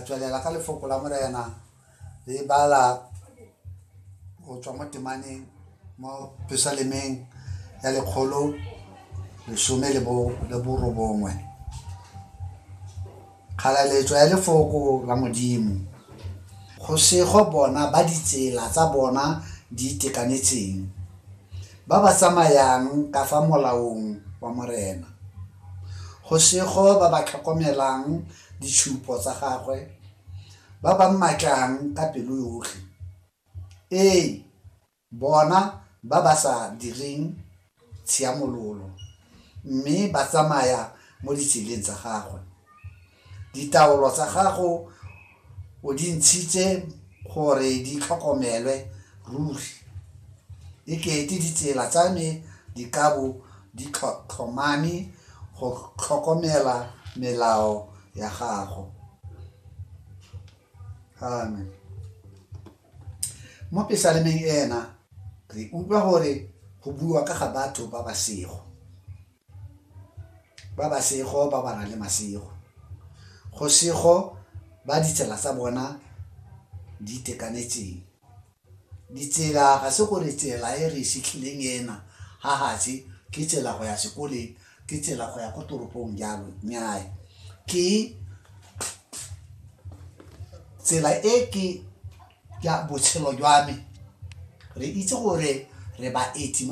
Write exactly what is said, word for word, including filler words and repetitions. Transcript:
Tla tswelela ka lefoko la Morena re bala go tswa mo temaneng mo pesalemeng ya lekgolo lesome le bo le borobongwe. Kgalaletso ya lefoko la Modimo. Go sego bona ba ditsela tsa bona di itekanetseng, ba ba tsamayang ka fa molaong wa Morena. Go sego ba ba tlhokomelang ditshupo tsa gagwe, ba ba mmatlang ka pelo yotlhe. Ee, bona ba ba sa direng tshiamololo, mme ba tsamaya mo ditseleng tsa gagwe. Ditaolo tsa gago o di ntshitse gore di tlhokomelwe ruri. E kete ditsela tsa me di ka bo di tlhomame go tlhokomela melao ya gago. Amen. Mo pesalemeng ena re utlwa gore go bua ka ga batho ba ba sego, ba ba sego ba ba nang le masego. Go sego ba ditsela tsa bona di itekanetseng. Ditsela ga se gore tsela e re e setlhileng ena ga gatshe ke tsela go ya sekoleng, ke tsela go ya ko toropong jalo, nnyaa. Ke tsela e ke ya botshelo jwa me. Re itse gore re baeti mo